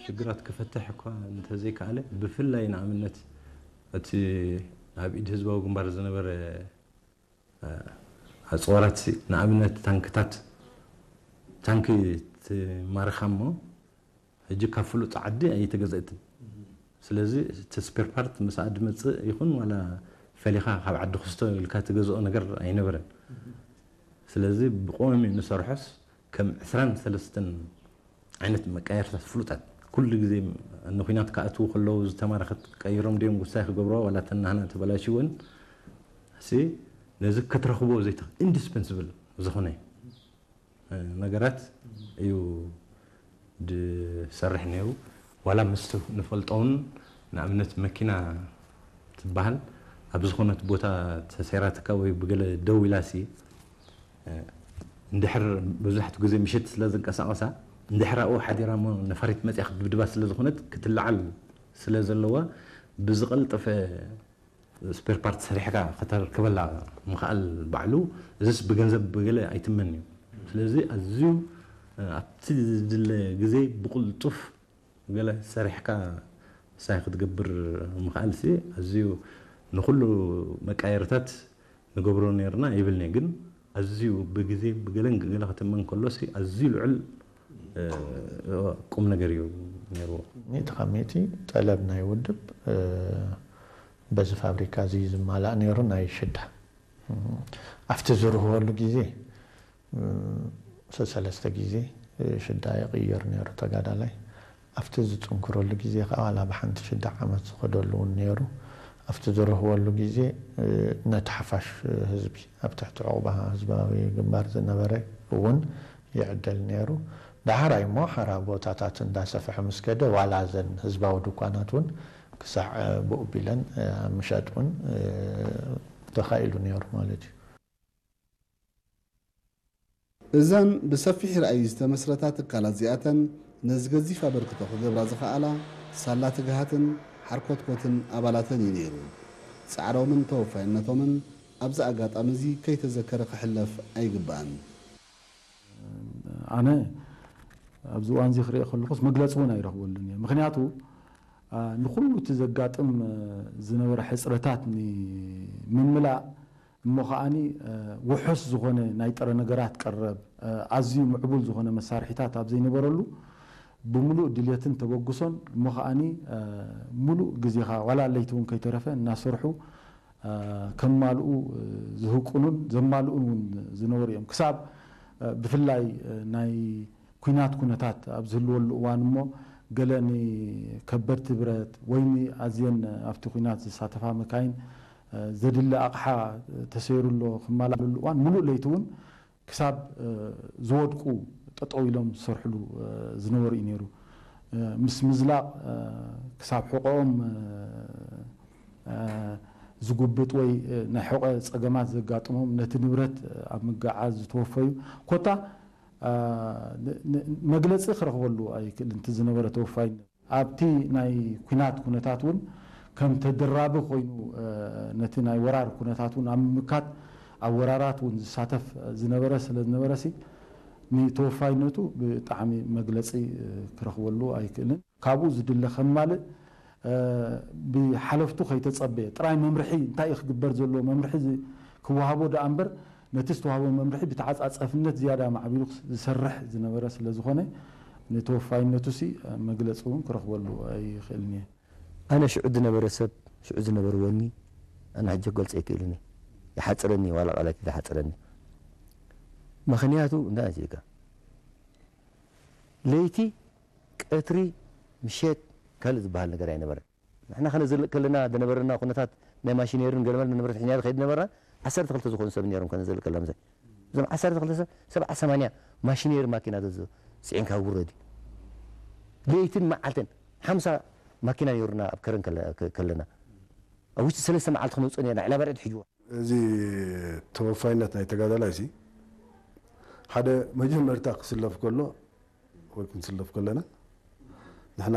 ሽግራት ክፈትሕ እኳ እንተዘይከኣለ፣ ብፍላይ ንኣብነት እቲ ኣብ ኢድ ህዝባዊ ግንባር ዝነበረ ኣፅዋራት፣ ንኣብነት ታንክታት፣ ታንኪ ትማርኻ እሞ ሕጂ ካብ ፍሉጥ ዓዲ ኣይተገዘእትን። ስለዚ እቲ ስፔር ፓርት ምስኣ ድመፅእ ይኹን ዋላ ፈሊኻ ካብ ዓዲ ክስቶ ኢልካ ትገዝኦ ነገር ኣይነበረን። ስለዚ ብቆሚ ንሰርሖስ ከም ዕስራን ሰለስተን ዓይነት መቃየርታት ፍሉጣት፣ ኩሉ ግዜ ንኩናት ክኣትዉ ከለዉ ዝተማረኸት ቀይሮም ድዮም ጉሳይ ክገብርዋ ዋላ ተናህና ተበላሽወን ሲ ነዚ ክትረኽቦ ዘይተ ኢንዲስፐንስብል ዝኾነ ነገራት እዩ ድሰርሕ ነይሩ። ዋላ ምስ ንፈልጦውን ንኣብነት መኪና ትበሃል ኣብ ዝኾነት ቦታ ተሰይራትካ ወይ ብገለ ደው ኢላሲ እንድሕር መብዛሕትኡ ግዜ ምሸት ስለ ዝንቀሳቐሳ እንድሕር ኣብኡ ሓዲራ እሞ ነፋሪት መፅያ ክትድብድባ ስለ ዝኾነት ክትለዓል ስለ ዘለዋ ብዝቐልጠፈ ስፔር ፓርት ሰሪሕካ ከተርከበላ ምኽኣል ባዕሉ እዚስ ብገንዘብ ብገለ ኣይትመን እዩ። ስለዚ ኣዝዩ ኣብቲ ዝድለ ግዜ ብቕልጡፍ ገለ ሰሪሕካ ሳይ ክትገብር ምኽኣል ሲ ኣዝዩ ንኹሉ መቃየርታት ንገብሮ ነርና ይብልኒ ግን ኣዝዩ ብግዜ ብገለን ገለ ክትመን ከሎ ሲ ኣዝዩ ልዑል ቁም ነገር እዩ ነይርዎ። ሚእቲ ካብ ሚእቲ ጠለብ ናይ ውድብ በዚ ፋብሪካ እዚ ዝማላእ ነይሩ ናይ ሽዳ ኣብቲ ዝርህወሉ ግዜ ሰለስተ ግዜ ሽዳ ይቕይር ነይሩ ተጋዳላይ ኣብቲ ዝፅንክረሉ ግዜ ከዓ ዋላ ብሓንቲ ሽዳ ዓመት ዝኸደሉ እውን ነይሩ ኣብቲ ዝረህወሉ ግዜ ነቲ ሓፋሽ ህዝቢ ኣብ ትሕቲ ዕቑባ ህዝባዊ ግንባር ዝነበረ እውን ይዕደል ነይሩ ዳሕራይ እሞ ሓራ ቦታታት እንዳሰፍሐ ምስ ከደ ዋላ ዘን ህዝባዊ ድኳናት እውን ክሳዕ ብኡ ቢለን ኣብ ምሸጥ እውን ተኻኢሉ ነይሩ ማለት እዩ። እዘን ብሰፊሕ ራእይ ዝተመስረታ ትካላት እዚኣተን ነዚ ገዚፍ ኣበርክቶ ክገብራ ዝኸኣላ ሳላ ትግሃትን ሓርኮትኮትን ኣባላተን እዩ ነይሩ። ጻዕሮምን ተወፋይነቶምን ኣብዚ ኣጋጣሚ እዚ ከይተዘከረ ክሕለፍ ኣይግባእን። ኣነ ኣብዚ እዋን እዚ ክሪኦ ከለኹስ መግለፂ እውን ኣይረኽበሉን እየ። ምኽንያቱ ንኹሉ እቲ ዘጋጥም ዝነበረ ሕፅረታት ንምምላእ እሞ ከዓኒ ውሑስ ዝኾነ ናይ ጥረ ነገራት ቀረብ ኣዝዩ ምዕቡል ዝኾነ መሳርሒታት ኣብ ዘይነበረሉ ብምሉእ ድልየትን ተበግሶን እሞ ከዓኒ ሙሉእ ግዜኻ ዋላ ለይቲ እውን ከይተረፈ እናሰርሑ ከማልኡ ዝህቁኑን ዘማልኡን እውን ዝነበሩ እዮም። ክሳብ ብፍላይ ናይ ኲናት ኩነታት ኣብ ዝህልወሉ እዋን እሞ ገለ ንከበድቲ ብረት ወይ ንኣዝየን ኣብቲ ኲናት ዝሳተፋ መካይን ዘድሊ ኣቕሓ ተሰይሩ ኣሎ ክማላእ ዝብሉ እዋን ሙሉእ ለይቲ እውን ክሳብ ዝወድቁ ጠጠው ኢሎም ዝሰርሕሉ ዝነበሩ እዩ ነይሩ። ምስ ምዝላቕ ክሳብ ሕቆኦም ዝጉብጥ ወይ ናይ ሕቆ ፀገማት ዘጋጥሞም ነቲ ንብረት ኣብ ምግዓዝ ዝተወፈዩ ኮታ መግለፂ ክረኽበሉ ኣይክእልን እቲ ዝነበረ ተወፋይነት ኣብቲ ናይ ኲናት ኩነታት እውን ከም ተደራቢ ኮይኑ ነቲ ናይ ወራር ኩነታት እውን ኣብ ምምካት ኣብ ወራራት እውን ዝሳተፍ ዝነበረ ስለ ዝነበረ ሲ ንተወፋይነቱ ብጣዕሚ መግለፂ ክረኽበሉ ኣይክእልን። ካብኡ ዝድለ ከማልእ ብሓለፍቱ ከይተፀበየ ጥራይ መምርሒ እንታይ እዩ ክግበር ዘለዎ መምርሒ ክወሃቦ ደኣ እምበር ነቲ ዝተዋህቦ መምርሒ ብተዓፃፀፍነት ዝያዳ ማዕቢሉ ዝሰርሕ ዝነበረ ስለ ዝኾነ ንተወፋይነቱ ሲ መግለፂ እውን ክረኽበሉ ኣይኽእልን እየ። ኣነ ሽዑ ዝነበረ ሰብ ሽዑ ዝነበረ ወኒ ኣነ ሕጂ ክገልፆ ኣይክእልን እየ። ይሓፅረኒ ዋላ ቃላት ይሓፅረኒ። ምኽንያቱ እንዳ ዜጋ ለይቲ ቀትሪ ምሸት ካልእ ዝበሃል ነገር ኣይነበረን። ንሕና ከነዘልእ ከለና ዝነበረና ኩነታት ናይ ማሽነርን ገለመለ ንብረት ሒዝና ከይድ ነበርና ዓሰርተ ክልተ ዝኾኑ ሰብ ነይሮም ከነዘልእ ከለና ምሳይ እዞም ዓሰርተ ክልተ ሰብ ሰብዓ ሰማንያ ማሽነሪ ማኪና ዘዞ ፅዒንካ ውረድ እዩ። ለይትን መዓልትን ሓምሳ ማኪና ነይሩና ኣብ ከረን ከለና ኣብ ውሽጢ ሰለስተ መዓልቲ ክነውፅእ ነርና ዕላባርዒ ትሕጅዋ። እዚ ተወፋይነት ናይ ተጋዳላይ ሲ ሓደ መጀመርታ ክስለፍ ከሎ ወይ ክንስለፍ ከለና ንሕና